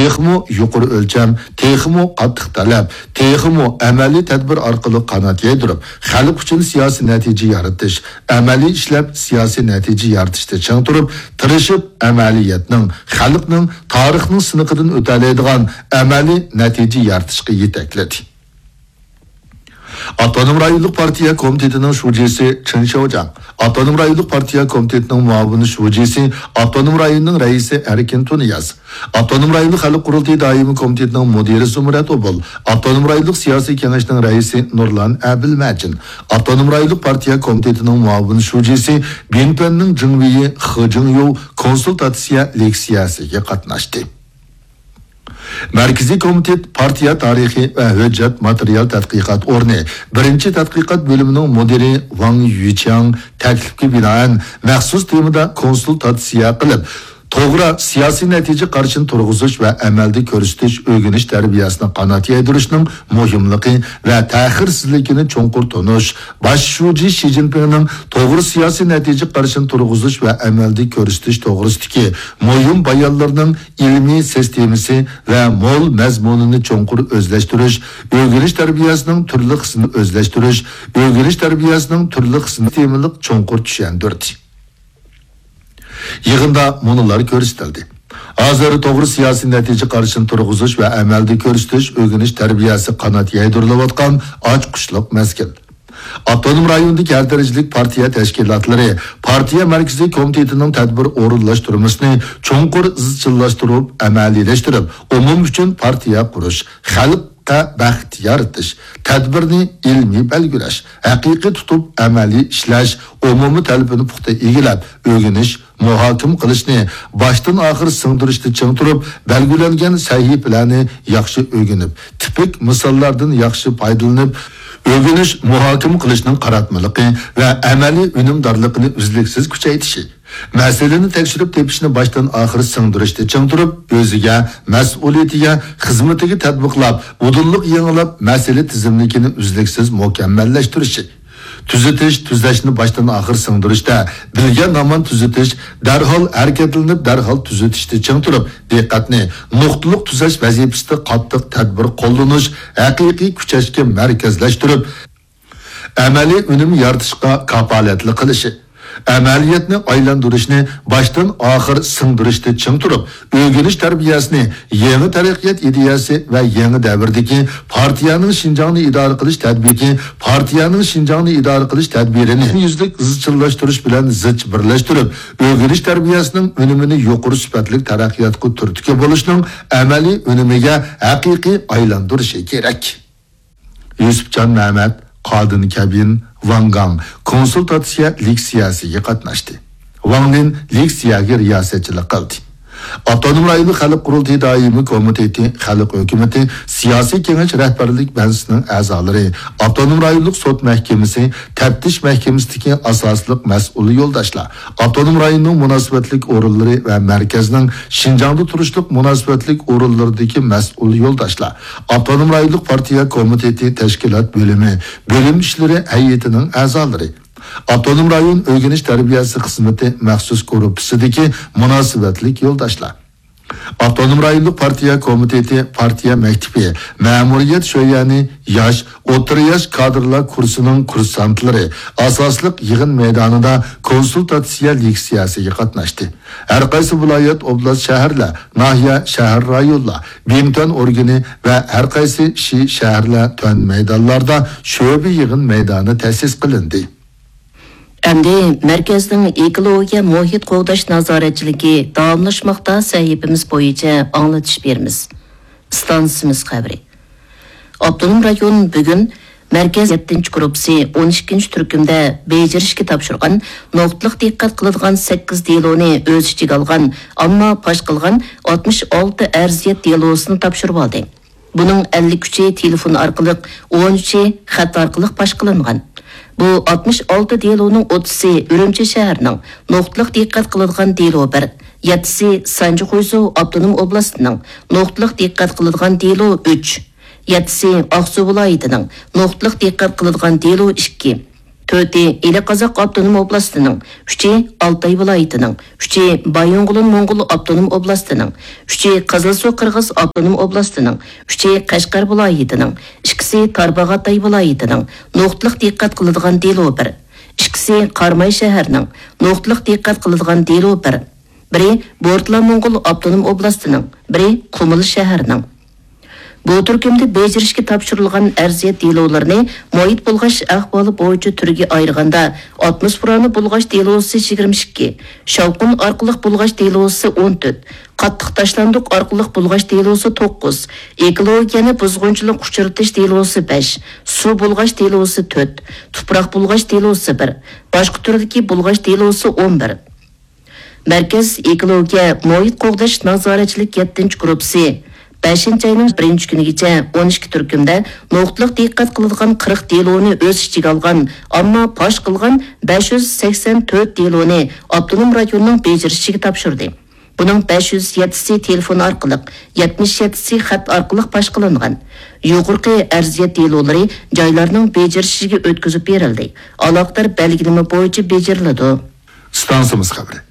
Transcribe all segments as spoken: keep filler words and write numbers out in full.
تېخىمۇ يۇقىرى ئۆلچەم، تېخىمۇ قاتتىق تەلەپ، تېخىمۇ ئەمەلىي تەدبىر ئارقىلىق قانات يايدۇرۇپ، خەلق ئۈچۈن سىياسىي نەتىجە يارىتىش، ئەمەلىي ئىشلەپ سىياسىي نەتىجە يارىتىشتا چىڭ تۇرۇپ، تىرىشىپ، ئەمەلىيەتنىڭ، خەلقنىڭ، تارىخنىڭ سىنىقىدىن ئۆتەلەيدىغان ئەمەلىي نەتىجە يارىتىشقا يېتەكلىدى. ئاپتونوم رايونلۇق پارتىيە كومىتېتىنىڭ شۇجىسى چېن شياۋجياڭ، ئاپتونوم رايونلۇق پارتىيە كومىتېتىنىڭ مۇئاۋىن شۇجىسى، ئاپتونوم رايوننىڭ رەئىسى ئەركىن تۇنىياز، ئاپتونوم رايونلۇق خەلق قۇرۇلتىيى دائىمىي كومىتېتىنىڭ مۇدىرى زۇمرەت ئوبۇل، ئاپتونوم رايونلۇق سىياسىي كېڭەشنىڭ رەئىسى نۇرلان ئەبىلمەجىن، ئاپتونوم رايونلۇق پارتىيە كومىتېتىنىڭ مۇئاۋىن شۇجىسى، بىنپەننىڭ جىڭۋېيى خې جىڭيۇ كونسۇلتاتسىيە لېكسىيەسىگە قاتناشتى. مەركىزىي كومىتېت پارتىيە تارىخى ۋە ھۆججەت ماتېرىيال تەتقىقات ئورنى بىرىنچى تەتقىقات بۆلۈمىنىڭ مۇدىرى ۋاڭ يۈچياڭ تەكلىپكە بىنائەن مەخسۇس تېمىدا كونسۇلتاتسىيە قىلىپ، توغرا سىياسىي نەتىجە قارىشىنى تۇرغۇزۇش ۋە ئەمەلدە كۆرسىتىش ئۆگىنىش تەربىيەسىنى قانات يايدۇرۇشنىڭ مۇھىملىقى ۋە تەخىرسىزلىكىنى چوڭقۇر تونۇش، باش شۇجى شى جىنپىڭنىڭ توغرا سىياسىي نەتىجە قارىشىنى تۇرغۇزۇش ۋە ئەمەلدە كۆرسىتىش توغرىسىدىكى مۇھىم بايانلىرىنىڭ ئىلمىي سىستېمىسى ۋە مول مەزمۇنىنى چوڭقۇر ئۆزلەشتۈرۈش، ئۆگىنىش تەربىيەسىنىڭ تۈرلۈك قىسمىنى ئۆزلەشتۈرۈش، ئۆگىنىش تەربىيەسىنىڭ تۈرلۈك قىسمى تېمىلىق چوڭقۇر چۈشەندۈردى. يىغىندا مۇنۇلار كۆرسىتىلدى. ھازىر توغرا سىياسىي نەتىجە قارىشىنى تۇرغۇزۇش ۋە ئەمەلدە كۆرسىتىش ئۆگىنىش تەربىيەسى قانات يايدۇرۇلۇۋاتقان ئاچقۇچلۇق مەزگىل. ئاپتونوم رايوندىكى ھەر دەرىجىلىك پارتىيە تەشكىلاتلىرى، پارتىيە مەركىزىي كومىتېتىنىڭ تەدبىر ئورۇنلاشتۇرمىسىنى چوڭقۇر ئىزچىللاشتۇرۇپ، ئەمەلىيلەشتۈرۈپ، ئومۇم ئۈچۈن پارتىيە قۇرۇش، خەلققە بەخت يارىتىش، تەدبىرنى ئىلمىي بەلگىلەش، ھەقىقىي تۇتۇپ ئەمەلىي ئىشلەش، ئومۇمىي تەلىپىنى پۇختا ئىگىلەپ، ئۆگىنىش، مۇھاكىمە قىلىشنى باشتىن ئاخىر سىڭدۈرۈشتە چىڭ تۇرۇپ، بەلگىلەنگەن سەھىپىلەرنى ياخشى ئۆگىنىپ، تىپىك مىساللاردىن ياخشى پايدىلىنىپ، ئۆگىنىش، مۇھاكىمە قىلىشنىڭ قاراتمىلىقى ۋە ئەمەلىي ئۈنۈمدارلىقىنى ئۈزلۈكسىز كۈچەيتىشى، مەسىلىنى تەكشۈرۈپ تېپىشنى باشتىن ئاخىر سىڭدۈرۈشتە چىڭ تۇرۇپ، ئۆزىگە، مەسئۇلىيىتىگە، خىزمىتىگە تەتبىقلاپ، ئۇدۇللۇق يېڭىلاپ، مەسىلە تىزىملىكىنى ئۈزلۈكسىز مۇكەممەللەشتۈرۈشى. تۈزىتىش، تۈزەشنى باشتىن ئاخىر سىڭدۈرۈشتە، بىلگەن ھامان تۈزىتىش، دەرھال ھەرىكەتلىنىپ، دەرھال تۈزىتىشتە چىڭ تۇرۇپ، دىققەتنى نۇقتىلىق تۈزەش ۋەزىپىسىدە قاتتىق تەدبىر قوللىنىش، ھەقىقىي كۈچەشكە مەركەزلەشتۈرۈپ، ئەمەلىي ئۈنۈم يارىتىشقا كاپالەتلىك قىلىشى، ئەمەلىيەتنى ئايلاندۇرۇشنى باشتىن ئاخىر سىڭدۈرۈشتە چىڭ تۇرۇپ، ئۆگىنىش تەربىيەسىنى يېڭى تەرەققىيات ئىدىيەسى ۋە يېڭى دەۋردىكى پارتىيەنىڭ شىنجاڭنى ئىدارە قىلىش تەدبىرى، پارتىيەنىڭ شىنجاڭنى ئىدارە قىلىش تەدبىرىنى يۈزلۈك ئىزچىللاشتۇرۇش بىلەن زىچ بىرلەشتۈرۈپ، ئۆگىنىش تەربىيەسىنىڭ ئۈنۈمىنى يۇقىرى سۈپەتلىك تەرەققىياتقا تۈرتكە بولۇشنىڭ ئەمەلىي ئۈنۈمىگە ھەقىقىي ئايلاندۇرۇشى كېرەك. يۈسۈپجان مەمەت، قادىن كەبىن، ۋاڭ گاڭ كونسۇلتاتسىيە لېكسىيەسىگە قاتناشتى. ۋاڭ لىن لېكسىيەگە رىياسەتچىلىك قىلدى. ئاپتونوم رايونلۇق خەلق قۇرۇلتىيى دائىمىي كومىتېتى، خەلق ھۆكۈمىتى، سىياسىي كېڭەش رەھبەرلىك بەنسىنىڭ ئەزالىرى، ئاپتونوم رايونلۇق سوت مەھكىمىسى، تەپتىش مەھكىمىسىدىكى ئاساسلىق مەسئۇل يولداشلار، ئاپتونوم رايوننىڭ مۇناسىۋەتلىك ئورۇنلىرى ۋە مەركەزنىڭ شىنجاڭدا تۇرۇشلۇق مۇناسىۋەتلىك ئورۇنلىرىدىكى مەسئۇل يولداشلار، ئاپتونوم رايونلۇق پارتىيە كومىتېتى تەشكىلات بۆلۈمى، بۆلۈم ئىشلىرى ھەيئىتىنىڭ ئەزالىرى، ئاپتونوم رايون ئۆگىنىش تەربىيەسى خىزمىتى مەخسۇس گۇرۇپپىسىدىكى مۇناسىۋەتلىك يولداشلار، ئاپتونوم رايونلۇق پارتىيە كومىتېتى پارتىيە مەكتىپى، مەمۇرىيەت شۆيەنى، ياش، ئوتتۇرا ياش كادىرلار كۇرسىنىڭ كۇرسانتلىرى ئاساسلىق يىغىن مەيدانىدا كونسۇلتاتسىيە لېكسىيەسىگە قاتناشتى. ھەر قايسى ۋىلايەت، ئوبلاست، شەھەرلەر، ناھىيە، شەھەر، رايونلار، بىڭتۈەن ئورگىنى ۋە ھەر قايسى شى، شەھەرلەر، تۈەن مەيدانلاردا شۆبە يىغىن مەيدانى تەسىس قىلىندى. ئەمدى مەركەزنىڭ ئېكولوگىيە مۇھىت قوغداش نازارەتچىلىكى داۋاملاشماقتا سەھىپىمىز بويىچە ئاڭلىتىش بېرىمىز. ئىستانسىمىز خەۋىرى. ئاپتونوم رايون بۈگۈن مەركەز يەتتىنچى گۇرۇپپىسى ئون ئىككىنچى تۈركۈمدە بېجىرىشكە تاپشۇرغان نۇقتىلىق دىققەت قىلىدىغان سەككىز دېلونى ئۆز ئىچىگە ئالغان، ئەمما پاش قىلغان ئاتمىش ئالتە ئەرزىيەت دېلوسىنى تاپشۇرۇۋالدى. بۇنىڭ ئەللىك ئۈچى تېلېفون ئارقىلىق، ئون ئۈچى خەت ئارقىلىق پاش قىلىنغان. بۇ ئاتمىش ئالتە دېلونىڭ ئوتتۇزى ئۈرۈمچى شەھىرىنىڭ نۇقتىلىق دىققەت قىلىدىغان دېلو بىر، يەتتىسى سانجى خۇيزۇ ئاپتونوم ئوبلاستىنىڭ نۇقتىلىق دىققەت قىلىدىغان دېلو ئۈچ، يەتتىسى ئاقسۇ ۋىلايىتىنىڭ نۇقتىلىق دىققەت قىلىدىغان دېلو ئىككى، تۆتى ئىلى قازاق ئاپتونوم ئوبلاستىنىڭ، ئۈچى ئالتاي ۋىلايىتىنىڭ، ئۈچى بايىنغولىن موڭغۇل ئاپتونوم ئوبلاستىنىڭ، ئۈچى قىزىلسۇ قىرغىز ئاپتونوم ئوبلاستىنىڭ، ئۈچى قەشقەر ۋىلايىتىنىڭ، ئىككىسى تارباغاتاي ۋىلايىتىنىڭ، نۇقتىلىق دىققەت قىلىدىغان دېلو بىر. ئىككىسى قاراماي شەھەرنىڭ، نۇقتىلىق دىققەت قىلىدىغان دېلو بىر. بىرى بورتلا موڭغۇل ئاپتونوم ئوبلاستىنىڭ، بىرى قۇمۇل شەھەرنىڭ. بۇ تۈركۈمدە بېجىرىشكە تاپشۇرۇلغان ئەرزىيەت دېلولىرىنى مۇھىت بۇلغاش ئەھۋالى بويىچە تۈرگە ئايرىغاندا، ئاتموسفېرانى بۇلغاش دېلوسى يىگىرمە ئىككى، شاۋقۇن ئارقىلىق بۇلغاش دېلوسى ئون تۆت، قاتتىق تاشلاندۇق ئارقىلىق بۇلغاش دېلوسى توققۇز، ئېكولوگىيەنى بۇزغۇنچىلىق ئۇچرىتىش دېلوسى بەش، سۇ بۇلغاش دېلوسى تۆت، تۇپراق بۇلغاش دېلوسى بىر، باشقا تۈردىكى بۇلغاش دېلوسى ئون بىر. مەركەز ئېكولوگىيە مۇھىت قوغداش نازارەتچىلىك يەتتىنچى گۇرۇپپىسى بەشىنچى ئاينىڭ بىرىنچى كۈنىگىچە ئون ئىككى تۈركۈمدە نۇقتىلىق دىققەت قىلىدىغان قىرىق دېلونى ئۆز ئىچىگە ئالغان، ئەمما پاش قىلغان بەش يۈز سەكسەن تۆت دېلونى ئاپتونوم رايوننىڭ بېجىرىشىگە تاپشۇردى. بۇنىڭ بەش يۈز يەتتىسى تېلېفون ئارقىلىق، يەتمىش يەتتىسى خەت ئارقىلىق پاش قىلىنغان. يۇقىرىقى ئەرزىيەت دېلولىرى جايلارنىڭ بېجىرىشىگە ئۆتكۈزۈپ بېرىلدى، ئالاقىدار بەلگىلىمە بويىچە بېجىرىلىدۇ. ئىستانسىمىز خەۋىرى.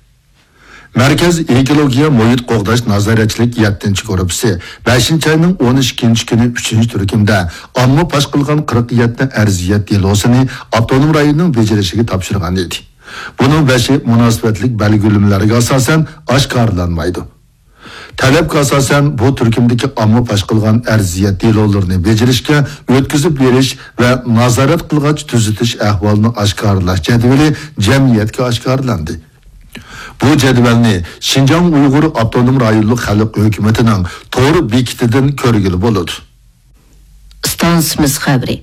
مەركەز ئېكولوگىيە مۇھىت قوغداش نازارەتچىلىك يەتتىنچى گۇرۇپپىسى بەشىنچى ئاينىڭ ئون ئىككىنچى كۈنى ئۈچىنچى تۈركۈمدە ئامما پاش قىلغان قىرىق يەتتە ئەرزىيەت دېلوسىنى ئاپتونوم رايوننىڭ بېجىرىشىگە تاپشۇرغان ئىدى. بۇنىڭ بەشى مۇناسىۋەتلىك بەلگىلىمىلەرگە ئاساسەن ئاشكارىلانمايدۇ. تەلەپكە ئاساسەن، بۇ تۈركۈمدىكى ئامما پاش قىلغان ئەرزىيەت دېلولىرىنى بېجىرىشكە ئۆتكۈزۈپ بېرىش ۋە نازارەت قىلغاچ تۈزىتىش ئەھۋالىنى ئاشكارىلاش جەدۋىلى جەمئىيەتكە ئاشكارىلاندى. بۇ جەدۋەلنى شىنجاڭ ئۇيغۇر ئاپتونوم رايونلۇق خەلق ھۆكۈمىتىنىڭ تور بېكىتىدىن كۆرگىلى بولىدۇ. ئىستانسىمىز خەۋىرى.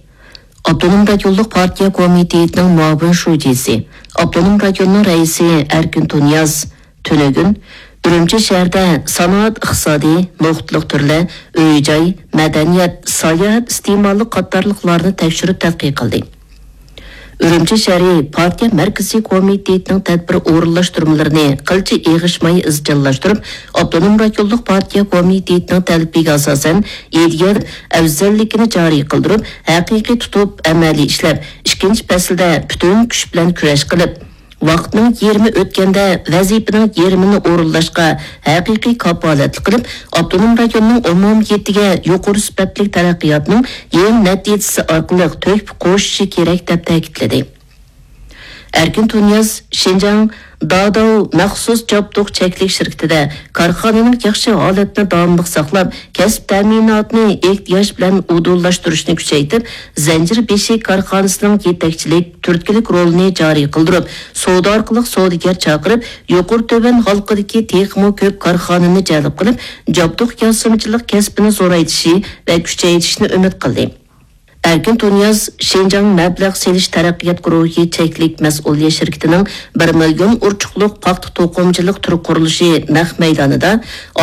ئاپتونوم رايونلۇق پارتىيە كومىتېتىنىڭ مۇئاۋىن شۇجىسى، ئاپتونوم رايوننىڭ رەئىسى ئەركىن تۇنىياز تۈنۈگۈن ئۈرۈمچى شەھىرىدە سانائەت ئىقتىسادى، نۇقتىلىق تۈرلەر، ئۆي-جاي، مەدەنىيەت، ساياھەت ئىستېمالى قاتارلىقلارنى تەكشۈرۈپ تەتقىق قىلدى. ئۈرۈمچى شەھىرى پارتىيە مەركىزىي كومىتېتىنىڭ تەدبىر ئورۇنلاشتۇرمىلىرىنى قىلچە ئېغىشماي ئىزچىللاشتۇرۇپ، ئاپتونوم رايونلۇق پارتىيە كومىتېتىنىڭ تەلىپىگە ئاساسەن، ئىدىيە ئەۋزەللىكىنى جارى قىلدۇرۇپ، ھەقىقىي تۇتۇپ ئەمەلىي ئىشلەپ، ئىككىنچى پەسىلدە پۈتۈن كۈچ بىلەن كۈرەش قىلىپ، ۋاقىتنىڭ يېرىمى ئۆتكەندە ۋەزىپىنىڭ يېرىمىنى ئورۇنلاشقا ھەقىقىي كاپالەتلىك قىلىپ، ئاپتونوم رايوننىڭ ئومۇمىيىتىگە يۇقىرى سۈپەتلىك تەرەققىياتنىڭ يېڭى نەتىجىسى ئارقىلىق تۆھپە قوشۇشى كېرەك، دەپ تەكىتلىدى. ئەركىن تۇنىياز شىنجاڭ داداۋ مەخسۇس جابدۇق چەكلىك شىركىتىدە كارخانىنىڭ ياخشى ھالەتنى داۋاملىق ساقلاپ، كەسىپ تەمىناتىنى ئېھتىياج بىلەن ئۇدۇللاشتۇرۇشنى كۈچەيتىپ، زەنجىر بېشى كارخانىسىنىڭ يېتەكچىلىك، تۈرتكىلىك رولىنى جارى قىلدۇرۇپ، سودا ئارقىلىق سودىگەر چاقىرىپ، يۇقىرى تۆۋەن ھالقىدىكى تېخىمۇ كۆپ كارخانىنى جەلپ قىلىپ، جابدۇق ياسىمىچىلىق كەسپىنى زورايتىشى ۋە كۈچەيتىشىنى ئۈمىد قىلدى. ئەركىن تۇنىياز شىنجاڭ مەبلەغ سېلىش تەرەققىيات گۇرۇھى چەكلىك مەسئۇلىيەت شىركىتىنىڭ بىر مىليون ئۇرچۇقلۇق پاختا توقۇمىچىلىق تۈر قۇرۇلۇشى نەق مەيدانىدا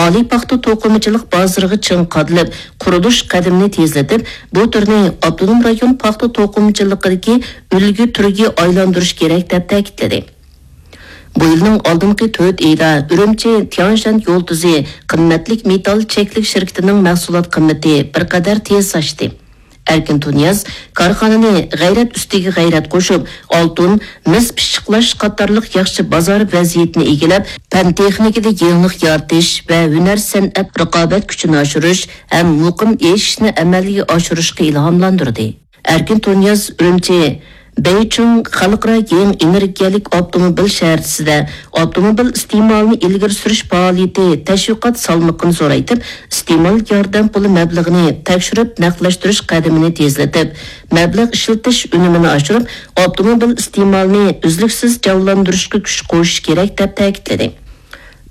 ئالىي پاختا توقۇمىچىلىق بازىرىغا چىڭ قادىلىپ، قۇرۇلۇش قەدىمىنى تېزلىتىپ، بۇ تۈرنى ئاپتونوم رايون پاختا توقۇمىچىلىقىدىكى ئۈلگە تۈرگە ئايلاندۇرۇش كېرەك، دەپ تەكىتلىدى. بۇ يىلنىڭ ئالدىنقى تۆت ئېيىدا ئۈرۈمچى تياڭشەن يۇلتۇزى قىممەتلىك مېتال چەكلىك شىركىتىنىڭ مەھسۇلات قىممىتى بىر قەدەر تېز ئاشتى. ئەركىن تۇنىياز كارخانىنى غەيرەت ئۈستىگە غەيرەت قوشۇپ، ئالتۇن، مىس پىششىقلاش قاتارلىق ياخشى بازار ۋەزىيىتىنى ئىگىلەپ، پەن تېخنىكىدا يېڭىلىق يارىتىش ۋە ھۈنەر سەنئەت رىقابەت كۈچىنى ئاشۇرۇش ھەم مۇقىم ئېشىشنى ئەمەلگە ئاشۇرۇشقا ئىلھاملاندۇردى. ئەركىن تۇنىياز ئۈرۈمچى بېيچىڭ خەلقئارا يېڭى ئېنېرگىيەلىك ئاپتوموبىل شەھەرچىسىدە ئاپتوموبىل ئىستېمالىنى ئىلگىرى سۈرۈش پائالىيىتى تەشۋىقات سالمىقىنى زورايتىپ، ئىستېمال ياردەم پۇلى مەبلىغىنى تەكشۈرۈپ نەقلەشتۈرۈش قەدىمىنى تېزلىتىپ، مەبلەغ ئىشلىتىش ئۈنۈمىنى ئاشۇرۇپ، ئاپتوموبىل ئىستېمالىنى ئۈزلۈكسىز جانلاندۇرۇشقا كۈچ قوشۇش كېرەك، دەپ تەكىتلىدى.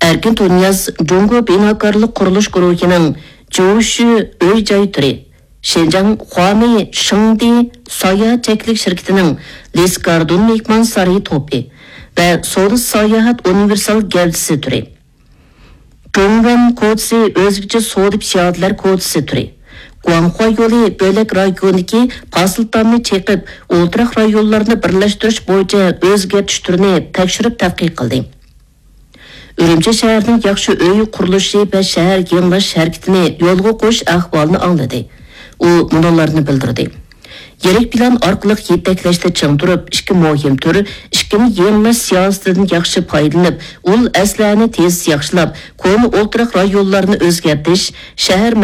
ئەركىن تۇنىياز جۇڭگو بىناكارلىق قۇرۇلۇش گۇرۇھىنىڭ جوشۈ ئۆي جاي تۈرى، شىنجاڭ خۇامى شېڭدى ساياھەت چەكلىك شىركىتىنىڭ لېس گاردون مېھمان سارىيى توپى ۋە سودا ساياھەت ئۇنىۋېرسال گەۋدىسى تۈرى، جۇڭۋەن كوچىسى ئۆزگىچە سودا پىيادىلەر كوچىسى تۈرى، گۇاڭخۇا يولى بۆلەك رايونىدىكى پاسىل تامنى چېقىپ، ئولتۇراق رايونلارنى بىرلەشتۈرۈش بويىچە ئۆزگەرتىش تۈرىنى تەكشۈرۈپ تەتقىق قىلدى. ئۈرۈمچى شەھىرىنىڭ ياخشى ئۆي قۇرۇلۇشى ۋە شەھەر يېڭىلاش ھەرىكىتىنى يولغا قويۇش ئەھۋالىنى ئاڭلىدى. ئۇ مۇنۇلارنى بىلدۈردى: يىرىك پىلان ئارقىلىق يېتەكلەشتە چىڭ تۇرۇپ، ئىككى مۇھىم تۈر، ئىككىنى يېڭىلاش سىياسىتىدىن ياخشى پايدىلىنىپ، ئۇل ئەسلىھەنى تېز ياخشىلاپ، كونا ئولتۇراق رايونلارنى ئۆزگەرتىش، شەھەر